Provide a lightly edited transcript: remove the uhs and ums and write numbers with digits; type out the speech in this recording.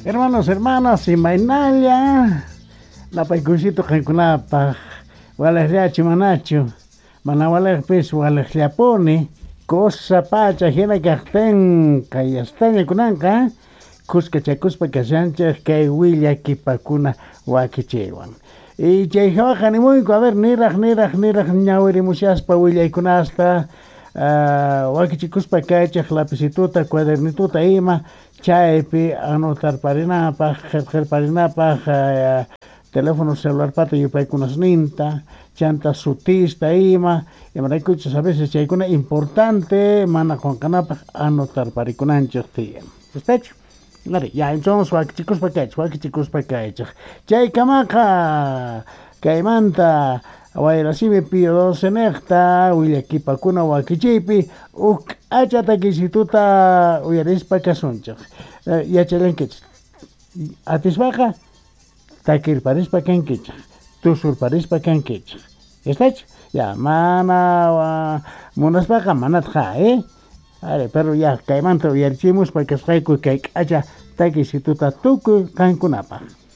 Hermanos, hermanas, imaynalla napaykunsito qankunapaj walejllachu manachu mana walejpis walejllapuni cosa pacha hina kajtin kayastaña kunanqa khuskachakuspa kashanchej kay willakipakuna wakichiywan. Y chay hawaqa animuyku, a ver, niraj niraj niraj ñawirimushaspa willaykunasta wakichikuspa kaychej lapicituta cuadernituta ima chaypi anotarparinapaj qhelqelparinapaj teléfono celularpata yupaykunasninta chanta sutista ima imaraykuchus a veces chaykuna importante mana qonqanapaj anotarparikunanchej tiyan. ¿Estachu? Ari, ya entonces wakichikuspa kaychej, wakichikuspa kaychej. Chaykamaqa kaymanta Wayrasimi Pío 12 nejta willakipakuna wakichiypi uj k'acha takisituta uyarispa kasunchej. Yachallankichej. Atispaqa takirparispa kankichej, tusurparispa kankichej. ¿Estachu? Ya, mana munaspaqa manatqa, eh? Ari, pero ya kaymanta uyarichimuspa kasqayku kay k'acha takisituta tukuy qankunapaj.